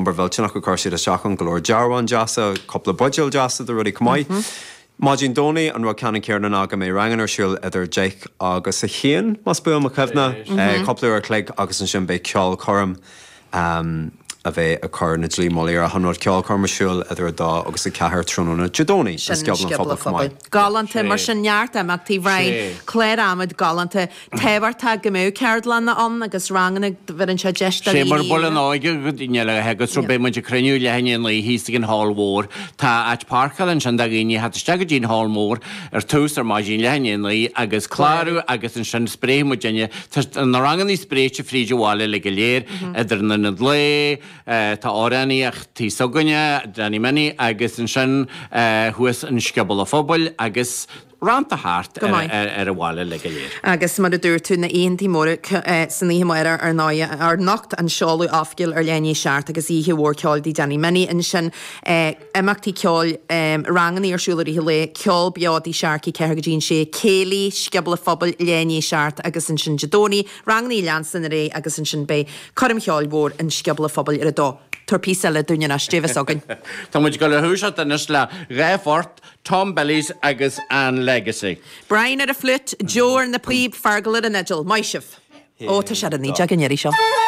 obair mhillteanach a chuir siad isteach ann, go leor dearbháin deasa, cúpla buidéal deasa de rudaí chomh maith. Maidin Domhnaigh, an rud ceannann céanna ná go mbeidh ranganna ar siúl idir 10 agus 1, más buan mo chuimhne, cúpla uair a chloig agus ansin beidh ceolchoirm a bheidh ag cur na dlí mullaigh ar achan rud, ceolchoirm ar siúl idir 2 agus 4 tráthnóna Dé Domhnaigh i Scioból an Phobail chomh maith. Galánta, mar sin neart imeachtaí, Bhrian, clár adhmaid galánta. Tábhachtach go mbeadh ceardlanna ann agus ranganna, bheireann sé deis do Sé mar buile an óige go daoine eile agus so beidh muid ag cruinniú leath i ndiaidh a naoi thíos ag an hall mhór. Tá áit páirceála ansin do dhaoine a theacht isteach go dtí an hall mór ar tús ar maidin leath i ndiaidh a naoi agus clárú agus ansin spréifidh muid duine. Tá na ranganna spréite fríd an bhaile uilig go léir idir an Ionad Lae, tá amhránaíocht tí s'againne, Danny Minnie agus ansin thuas in Scioból an Phobail agus rannta thart Go maith. ar an bhaile uilig go léir. Agus mar a dúirt tú, na oícheantaí móra san oíche amárach ar ndóigh, anocht an seoladh oifigiúil ar leath i ndiaidh a seacht agus oíche mhór ceoil dTigh Danny Minnie ansin, imeachtaí ceoil, rangannaí ar siúl i rith an lae, ceol beo dTigh Sharkey 4 go dtí an 6, céilí, Scioból an Phobail leath i ndiaidh a seacht agus ansin Dé Domhnaigh, rangannaí ag leanstan ar aghaidh agus ansin beidh coirm cheoil mhór in Scioból an Phobail ar a dó. Tabhair píosa eile dúinn anois, Dé bheas againn. Tá muid ag dul a thoiseacht anois le dhá phort, Tom Billy's agus an Legacy. Brian ar an fliúit, Joe ar na píob, Fergal ar an fhidil. Maith sibh! Ó, tá sé ar a 19 an iarraidh seo.